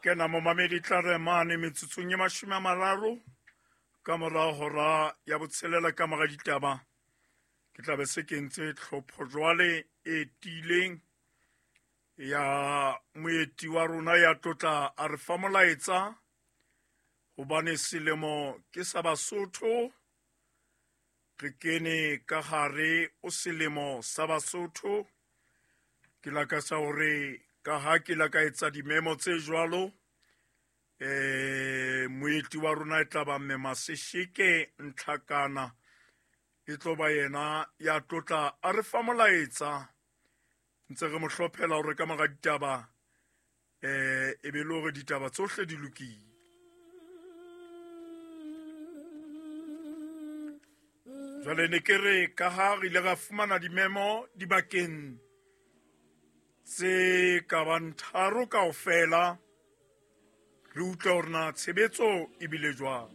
Kena momamedi tla re mane metsotsong e 30 ka mora hora ya botshelela ka mora ditaba. Ke tla be se kentse tlhopho jwale e tiileng ya moeti wa rona ya tlotla a re fa molaetsa, hobane selemo ke sa Basotho. Re kene ka hare o selemo sa Basotho. Ke lakatsa hore ka ha ke la ka etsa dimemo tse jwalo, moeti wa rona e tla ba Mme Masesheke Ntlhakana, e tlo ba yena ya tlotla a re fa molaetsa. Ntse re mo hlophela hore ka mora ditaba, e be le hore ditaba tsohle di lokile. Jwale ne ke re ka ha re ile ra fumana dimemo dibakeng tse ka bang tharo kaofela, re utlwe hore na tshebetso e bile jwang.